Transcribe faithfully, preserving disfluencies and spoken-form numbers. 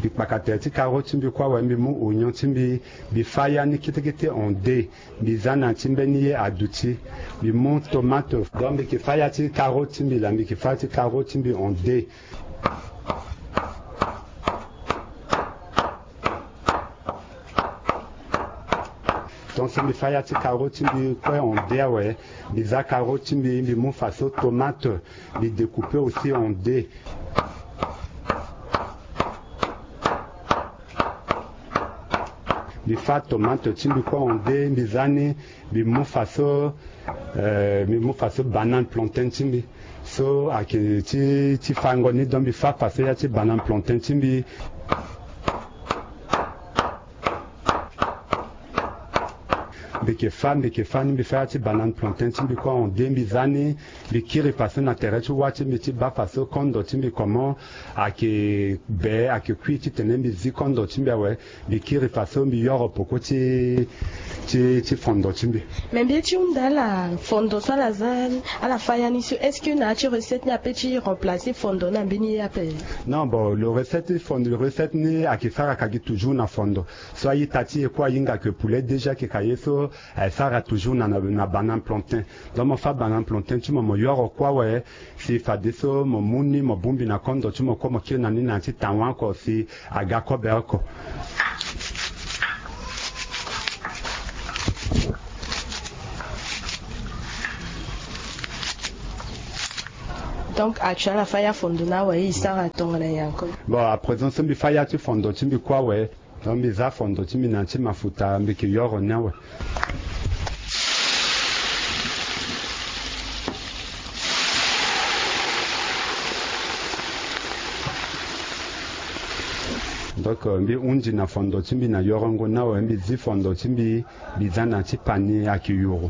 Mbi kpaka tere ti karo ti mbi kue awe, mbi mu oignon ti mbi, mbi fâ ya ni kete kete en deux. Mbi za na ti mbeni ye aduti, mbi mu tomate. Donc mbi ke fâ ya ti karo ti mbi la, mbi ke fâ ya ti karo ti mbi en deux. Donc so mbi fâ ya ti karo ti mbi kue en deux awe, mbi za karo ti mbi, mbi mu faso tomate, mbi découper aussi en deux. Mbi fâ tomate ti mbi kue en deux, mbi za ni, mbi mu faso, euh, mbi mu faso banane plantain ti mbi. So ayeke ti, ti fango ni, donc mbi fâ faso ya ti banane plantain ti mbi. Mbi ke fâ, mbi ke fâ ni, mbi fâ ya ti banane plantain ti mbi kue en deux, mbi za ni, mbi kiri faso na tere ti wâ ti mbi ti bâ faso kondo ti mbi comment ayeke be, ayeke kui titene mbi zi kondo ti mbi awe. Mbi kiri faso mbi yoro peko ti, ti, ti fondo ti mbi. Mais mbi ye ti hunda ala fondo so ala za, ala fâ ya ni so, est-ce que na ya ti recette ni ape ti remplacer fondo na mbeni ye ape? Non, bon, le recette ti fondo, le recette ni ayeke sara ka gi toujours na fondo. So a-ita ti e kue ahinga que poulet déjà ayeke ka ye so, aye sara toujours na, na, na banane plantain. Donc mo fâ banane plantain ti mo, mo yoro kue awe, si fadeso mo mu ni mo bongbi na kondo ti mo kue, mo kiri na ni na ya ti tawa oko si aga kobe oko. Donc actuel, ala fâ ya fondo ni awe, e sara tongana nyen encore? Bon, à présent so mbi fâ ya ti fondo ti mbi kue awe, donc mbi za fondo ti mbi na ya ti mafuta, mbi ke yoro ni awe. Donc euh, mbi hundi na fondo ti mbi na yorongo ni awe, mbi zi fondo ti mbi, mbi za na ya ti pani, ayeke yoro.